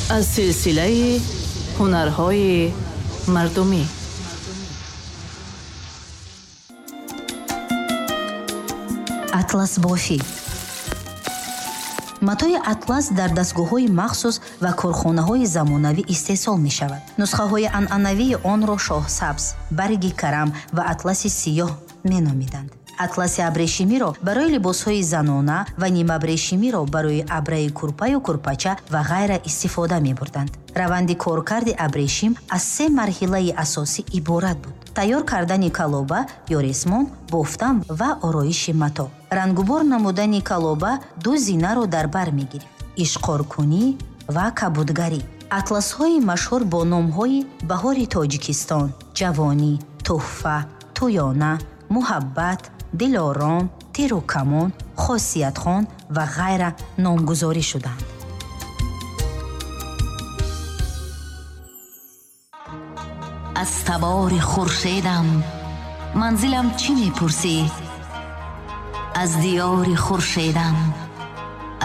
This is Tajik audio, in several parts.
Аз силсилаи ҳунарҳои мардумӣ. Атласбофӣ. Матои атлас дар дастгоҳҳои махсус ва корхонаҳои замонавӣ истеҳсол мешавад. Нусхаҳои анъанавии онро шоҳсабз, барги карам ва атласи сиёҳ меномиданд. Атласи абрешимиро барои либосҳои занона ва нимабрешимиро барои абраи курпаю курпача ва ғайра истифода мебурданд. Раванди коркарди абрешим аз се марҳилаи асосӣ иборат буд: тайёр кардани калоба ё ресмон, бофтан ва ороиши мато. Рангубор намудани калоба ду зинаро дар бар мегирифт: ишқоркунӣ ва кабудгарӣ. Атласҳои машҳур бо номҳои Баҳори Тоҷикистон, Ҷавонӣ, Тӯҳфа, Тӯёна, Муҳаббат, Дилором, Тиру камон, Хосиятхон ва ғайра номгузорӣ шуданд. Аз табори хуршедам манзилам чӣ мепурсӣ? Аз диёри хуршедам,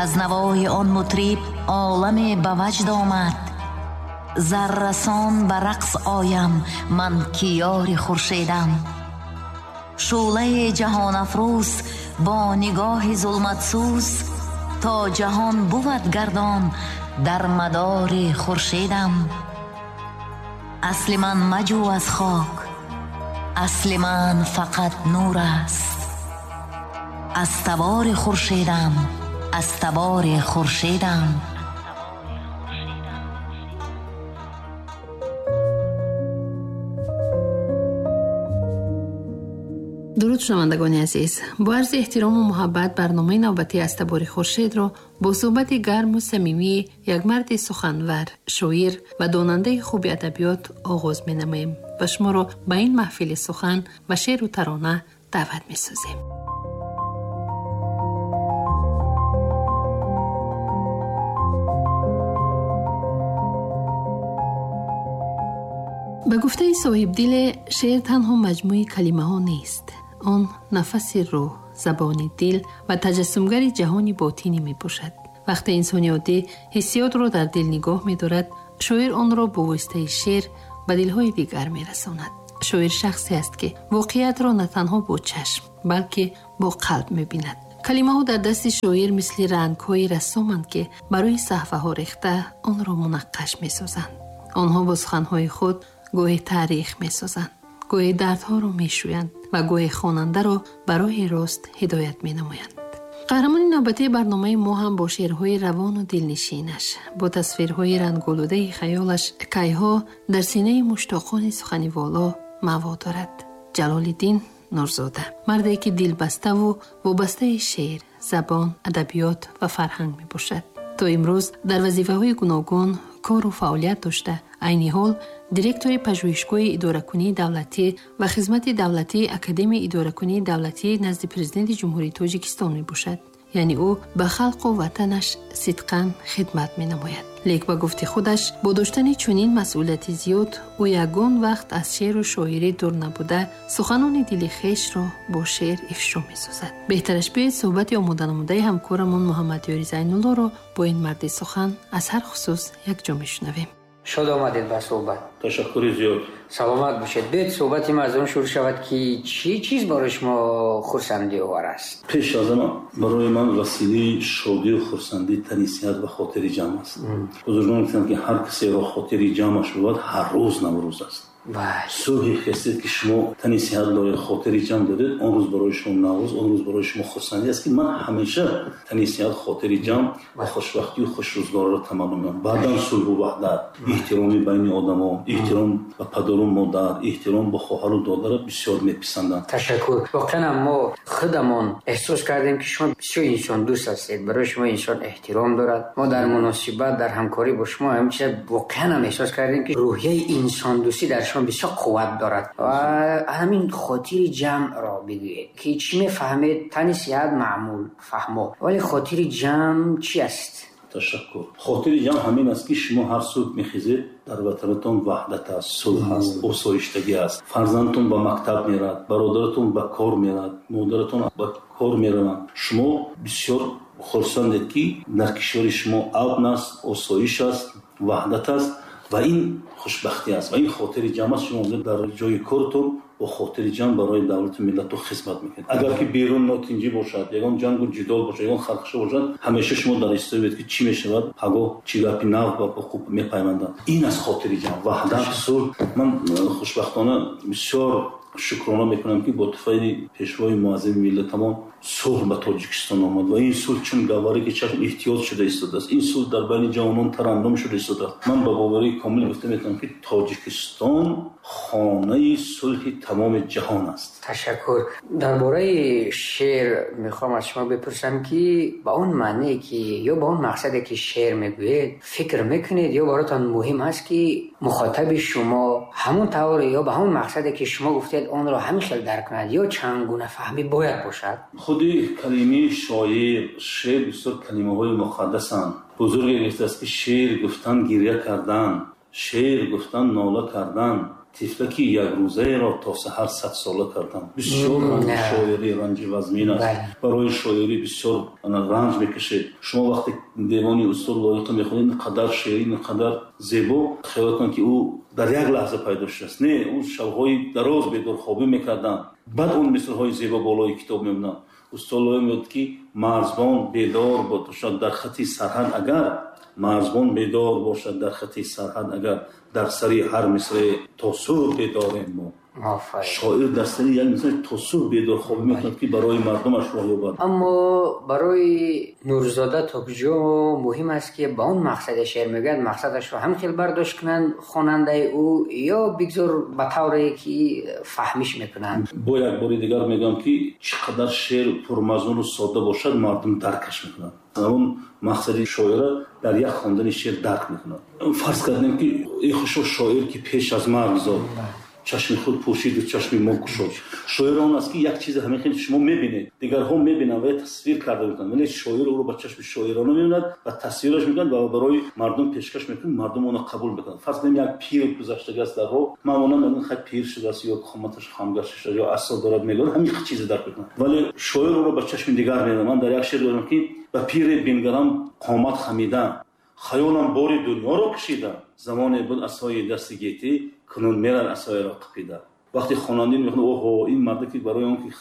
аз навои он мутриб оламе ба ваҷд омад. Заррасон ба рақс оям ман ки ёри хуршедам. Шӯълаи ҷаҳонафрӯз бо нигоҳи зулматсӯз то ҷаҳон бувад гардон дар мадори хуршедам. Асли ман маҷӯ аз хок, асли ман фақат нур аст. Аз табори хуршедам, аз табори хуршедам. Дуруд шунавандагони азиз, бо арзи эҳтирому муҳаббат барномаи навбатӣ аз табори хуршедро бо суҳбати гарму самимии як марди суханвар, шоир ва донандаи хуби адабиёт оғоз менамоем ва шуморо ба ин маҳфили сухан ва шеъру тарона даъват месозем. Ба гуфтаи соҳибдиле, шеър танҳо маҷмӯи калимаҳо нест. Он нафаси рӯҳ, забони дил ва таҷассумгари ҷаҳони ботинӣ мебошад. Вақте инсони оддӣ ҳиссиётро дар дил нигоҳ медорад, шоир онро бо воситаи шеър ба дилҳои дигар мерасонад. Шоир шахсе аст, ки воқеиятро на танҳо бо чашм, балки бо қалб мебинад. Калимаҳо дар дасти шоир мисли рангҳои рассоманд, ки барои саҳфаҳо рехта онро мунаққаш месозанд. Онҳо бо суханҳои худ гоҳе таърих месозанд, гоҳе дардҳоро мешӯянд ва гоҳе хонандаро ба роҳи рост ҳидоят менамоянд. Қаҳрамони навбатии барномаи мо ҳам бо шеърҳои равону дилнишинаш, бо тасвирҳои ранголудаи хаёлаш кайҳо дар синаи муштоқони сухани воло маъво дорад. Ҷалолиддин Нурзода, марде ки дилбаставу вобастаи шеър, забон, адабиёт ва фарҳанг мебошад. То имрӯз дар вазифаҳои гуногун кору фаъолият дошта, айни ҳол директори пажӯҳишгоҳи идоракунии давлатӣ ва хизмати давлатии Академияи идоракунии давлатӣ назди Президенти Ҷумҳурии Тоҷикистон мебошад. Яъне ӯ ба халқу ватанаш сидқан хидмат менамояд. Лек ба гуфти худаш, бо доштани чунин масъулияти зиёд, ӯ ягон вақт аз шеъру шоирӣ дур набуда, суханони дили хешро бо шеър ифшо месозад. Беҳтараш биёед суҳбати омоданамудаи ҳамкорамон Муҳаммадёри Зайнуллоро бо ин марди сухан аз ҳар хусус якҷо мешунавем. Шод омадед ба суҳбат. Ташаккури зиёд. Саломат бошед. Биёед суҳбати мо аз он шурӯъ шавад, ки чӣ чиз барои шумо хурсандиовар аст? Пеш аз ҳама барои ман василаи шодию хурсандӣ тани сиҳат ва хотири ҷамъ аст. Бузургон гуфтанд, ки ҳар касеро хотири ҷамъаш бувад, ҳар рӯз Наврӯз аст. Субҳи хестед, ки шумо тани сиҳат доред, хотири ҷамъ доред, он рӯз барои шумо Наврӯз, он рӯз барои шумо хурсандӣ аст, ки ман ҳамеша тани сиҳат, хотири ҷамъ ва хушбахтию хушрӯзгорро таманно мекунам. Баъдан сулҳу ваҳдат, эҳтироми байни одамон, эҳтиром ба падару модар, эҳтиром ба хоҳару додарро бисёр меписандам. Ташаккур. Воқеан мо худамон эҳсос кардем, ки шумо бисёр инсондӯст ҳастед, барои шумо инсон эҳтиром дорад. Мо дар муносибат, дар ҳамкорӣ бо шумо ҳамин чиза воқеан ҳам эҳсос кардем, ки рӯҳияи инсондӯстӣ дар шумо бисёр қувват дорад. Ва ҳамин хотири ҷамъро бигӯед, ки чӣ мефаҳмед? Тани сиҳат маъмул фаҳмо, вале хотири ҷамъ чӣ аст? Ташаккур. Хотири ҷамъ ҳамин аст, ки шумо ҳар субҳ мехезед, дар ватанатон ваҳдат аст, сулҳ аст, осоиштагӣ аст. Фарзандтон ба мактаб мерад, бародаратон ба кор мерад, модаратон ба кор мераванд. Шумо бисёр хурсандед, ки дар кишвари шумо амн аст, осоиш аст ваҳдат аст ва ин хушбахтӣ аст ва ин хотири ҷамъ аст. Шумо дар ҷои кортон бо хотири ҷамъ барои давлату миллату хизмат мекунед. Агар ки берун нотинҷӣ бошад, ягон ҷангу ҷидол бошад, ягон хархаша бошад, ҳамеша шумо дар истовед ки чӣ мешавад, пагоҳ чӣ гапи нав ба ҳуқуқ мепайманданд. Ин аст хотири ҷамъ, ваҳдат, сулҳ. Ман хушбахтона бисёр шукрона мекунам, ки бо туфайли пешвои муаззами миллатамон сулҳ ба Тоҷикистон омад ва ин сулҳ чун гавҳаре ки чашм эҳтиёҷ шуда истодааст, ин сулҳ дар байни ҷавонон тараннум шуда истодааст. Ман ба боварии комил гуфта метавонам, ки Тоҷикистон хонаи сулҳи тамоми ҷаҳон аст. Ташаккур. Дар бораи шеър мехоҳам аз шумо бипурсам, ки ба он маъне ки ё ба он мақсаде ки шеър мегӯед фикр мекунед, ё баротон муҳим аст, ки мухотаби шумо ҳамон тавр ё ба ҳамон мақсаде ки шумо гуфтед онро ҳамин хел дарк кунад, ё чанд гуна фаҳмӣ бояд бошад? Худи калимаи шоир, шеър бисёр калимаҳои муқаддасанд. Бузурге гуфтааст, ки шеър гуфтан гиря кардан, шеър гуфтан нола кардан, тифлаки якрӯзаеро то саҳар садсола кардан. Бисёр ранҷи шоирӣ ранҷи вазмин аст. Барои шоирӣ бисёр ранҷ мекашед. Шумо вақте девони устод Лоиқа мехонед, ин қадар шеърӣ, ин қадар зебо, хаёл кунед, ки ӯ дар як лаҳза пайдо шудааст. Не, ӯ шабҳои дароз бедорхобӣ мекарданд, баъд он мисрҳои зебо болои китоб мемонанд. Устод Лоиқ мегӯяд, ки марзбон бедор бошад дар хати сарҳад агар, марзбон бедор бошад дар хати сарҳад агар, дар сари ҳар мисре то субҳ бедорем мо. Шоир дар сари як мисре то субҳ бедорхобӣ мекунад, ки барои мардумаш роҳ ёбад. Аммо барои Нурзода то куҷо муҳим аст, ки ба он мақсаде шеър мегӯяд, мақсадашро ҳам хел бардошт кунанд хонандаи ӯ, ё бигзор ба тавре ки фаҳмиш мекунанд? Бо як бори дигар мегӯям, ки чӣ қадар шеър пурмазмуну содда бошад, мардум даркаш мекунад. Он мақсади шоира дар як хондани шеър дарк мекунад. Фарз кардем, ки эй хушо шоир, ки пеш аз марг зод, чашми худ пӯшиду чашми мо кушод. Шоир он аст, ки як чизе ҳамин хел шумо мебинед, дигарҳо мебинанд ва тасвир карда мекунанд, вале шоир ӯро ба чашми шоирона мебинад ва тасвираш мекунад ва барои мардум пешкаш мекунад, мардум онро қабул мекунанд. Фарз кунем, як пир гузаштагааст дар роҳ, ман она мегӯям, хай пир шудааст, ё қоматаш хамгашта шудааст, ё асо дорад, мегӯяд, ҳамин чизе дарк мекунад, вале шоир ӯро ба чашми дигар мебинад. Ман дар як шеър дорам, ки ба пире бингарам қомат хамида, хаёлам бори дунёро кашида, замоне буд асои дасти гетӣ, кунун мерад асоеро қапида. Вақте хонандаи мехонад, оҳо, ин марде ки барои он ки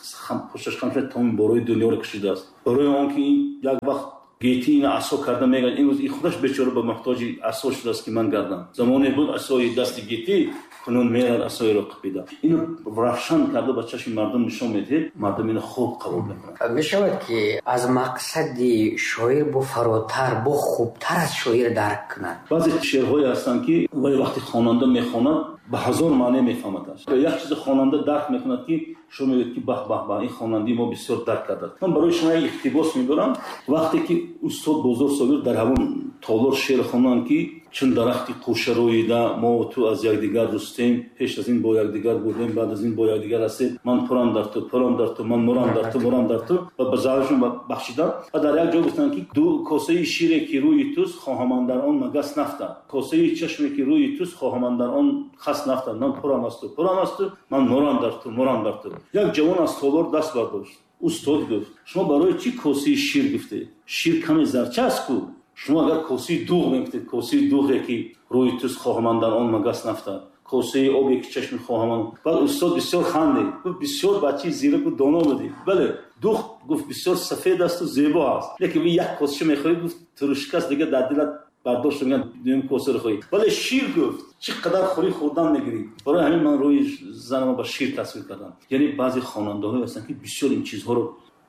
пушташ хам шуд, тамоми борои дунёро кашидааст, барои он ки ин як вақт гетӣ ина асо карда мегӯяд, имрӯз ин худаш бечора ба муҳтоҷи асо шудааст, ки ман гардам. Замоне буд асои дасти гетӣ, кунун мерад асоеро қапида. Ино равшан карда ба чашми мардум нишон медиҳед, мардум ино хуб қабул мекунанд. Мешавад, ки аз мақсади шоир бо фаротар, бо хубтар аз шоир дарк кунад? Баъзе шеърҳое ҳастанд, ки вале вақте хонанда мехонад, ба ҳазор маъне мефаҳмадаш. Як чизи хонанда дарк мекунад, ки шумо мегӯед, ки баҳ баҳ баҳ, ин хонандаи мо бисёр дарк кардааст. Ман барои шумо як иқтибос мебарам. Вақте ки устод Бозор Собир дар ҳамон толор шеър хонданд, ки чун дарахти қӯша рӯида, мо ту аз якдигар рустем, пеш аз ин бо якдигар будем, баъд аз ин бо якдигар ҳастем, ман пурам дар ту, пурам дар ту, ман мурам дар ту, мурам дар ту, ва ба заҳрашон бахшиданд. Ва дар як ҷо гуфтанд, ки ду косаи шире ки рӯи туст, хоҳам андар он магас нафтад, косаи чашме ки рӯи туст, хоҳам андар он хас нафтад, ман пурам аз ту, пурам аз ту, ман мурам дар ту, мурам дар ту. Як ҷавон аз толор даст бардошт. Устод гуфт, шумо барои чӣ косаи шир гуфтед? Шир каме зарча аст ку? Шумо агар косаи дуғ мегуфтед, косаи дуғе ки рӯи туст, хоҳам андар он магас нафтад, косаи обе ки чашми хоҳам. Баъд устод бисёр хандид, гуфт, бисёр бачаи зираку доно будӣ. Бале, дуғ, гуфт, бисёр сафед асту зебо аст, лекин як косаша мехӯрӣ, гуфт, турушкаст, дига дар дилат бардошт мегӯянд, дуюм косаро хӯрӣ. Вале шир, гуфт, чӣ қадар хӯрӣ, хӯрдан мегирӣ. Барои ҳамин ман рӯи занама ба шир тасвир кардам. Яъне баъзе хонандаҳое ҳастанд, ки бисёр ин чизҳоро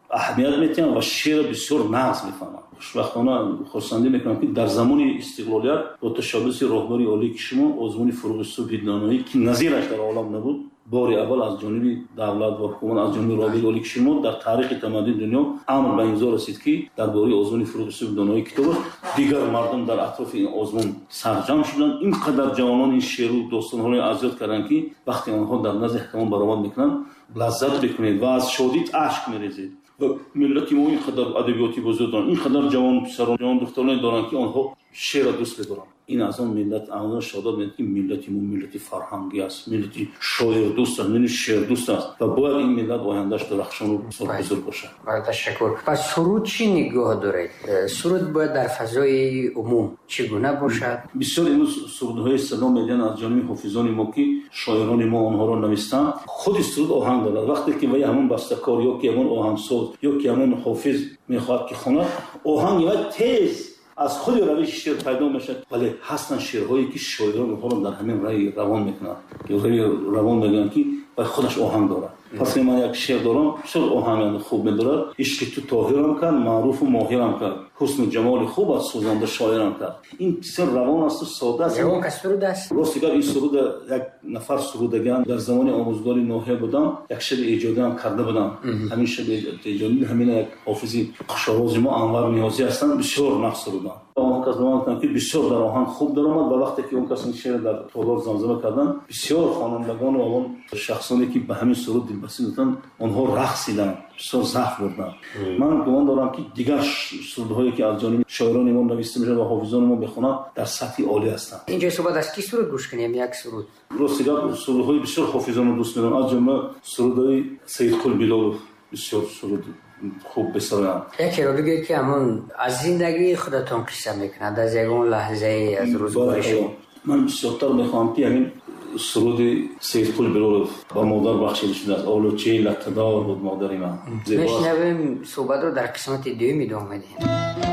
аҳамият метиҳанд ва шеърро бисёр нағз мефаҳманд. Хушбахтона хурсандӣ мекунам, ки дар замони истиқлолият бо ташаббуси роҳбари олии кишвар озмуни фуруғи субҳи доноӣ, ки назираш дар олам набуд, бори аввал аз ҷониби давлат ва ҳукумат, аз ҷониби роҳбари олии кишвар дар таърихи тамаддуни дунё амр ба имзо расид, ки дар бораи озмуни фуруғи субҳи доноӣ китоб аст. Дигар мардум дар атрофи ин озмун сарҷамъ шуданд. Ин қадар ҷавонон ин шеъру достонҳоро аз ёд карданд, ки вақте онҳо дар назди ҳакамон баромад мекунанд, лаззат мекунед ва аз шодӣ ашк мерезед. Ва миллати мо ин қадар адабиёти бузург доранд, ин қадар ҷавон писарон, ҷавон духтароне доранд, ки онҳо Шеърро дӯст медорам. Ин аз он миллат, аз он шаҳодат медиҳад, ки миллати мо миллати фарҳангӣ аст, миллати шоирдӯст аст, миллати шеърдӯст аст ва бояд ин миллат ояндааш дурахшону бузург бошад. Ташаккур. Пас суруд чӣ нигоҳ доред? Суруд бояд дар фазои умум чӣ гуна бошад? Бисёр имрӯз сурудҳои садо медиҳанд аз ҷониби ҳофизони мо, ки шоирони мо онҳоро навистанд. Худи суруд оҳанг дорад. Вақте ки вай ҳамон бастакор ё ки ҳамон оҳангсоз ё ки ҳамон ҳофиз мехоҳад ки хонад, оҳанги вай тез аз худи равиши шеър пайдо мешавад. Вале ҳастанд шеърҳое, ки шоирон онҳоро дар ҳамин раи равон мекунанд, равон мегӯянд, ки вай худаш оҳанг дорад. Пас ман як шеър дорам, бисёр оҳанг хуб медорад. Ишқи ту тоҳирам кард, маъруфу моҳирам кард, ҳусну ҷамоли хуб аз сӯзанда шоирам кард. Ин бисёр равон асту сода аст. Ягон кас суруд аст? Рости гап, ин суруда як нафар сурудаган. Дар замони омӯзгори ноҳия будам, як шеъри эҷодиам карда будам. Ҳамин шеъри эҷодӣ ҳамин як ҳофизи хушовози мо Анвар Ниёзӣ ҳастанд, бисёр нағз суруданд. Он кас ба ман гуфтанд, ки бисёр дар оҳанг хуб даромад ва вақте ки он кас ин шеърро дар толор замзама карданд, бисёр хонандагон ва он шахсоне, ки ба ҳамин суруд дилбастӣ доданд, онҳо рақсиданд, бисёр завқ бурданд. Ман гумон дорам, ки дигар сурудҳое, ки аз ҷониби шоирони мо нависта мешавад ва ҳофизони мо мехонанд, дар сатҳи олӣ ҳастанд. Инҷо суҳбат аз ки суруд гӯш кунем? Як суруд. Рости гап, сурудҳои бисёр ҳофизонро дӯст медорам, аз ҷумла сурудҳои Саидқул Билолов, бисёр суруд хуб бисароянд. Якеро бигӯед, ки ҳамон аз зиндагии худатон қисса мекунад, аз ягон лаҳзае аз рӯзгори шумо. Ман бисёртар мехоҳам, ки ҳамин суруди Саидқул Билолов ба модар бахшида шудааст, Олучаи латтадор буд модари ман. Мешнавем, суҳбатро дар қисмати дуюм идома медиҳем.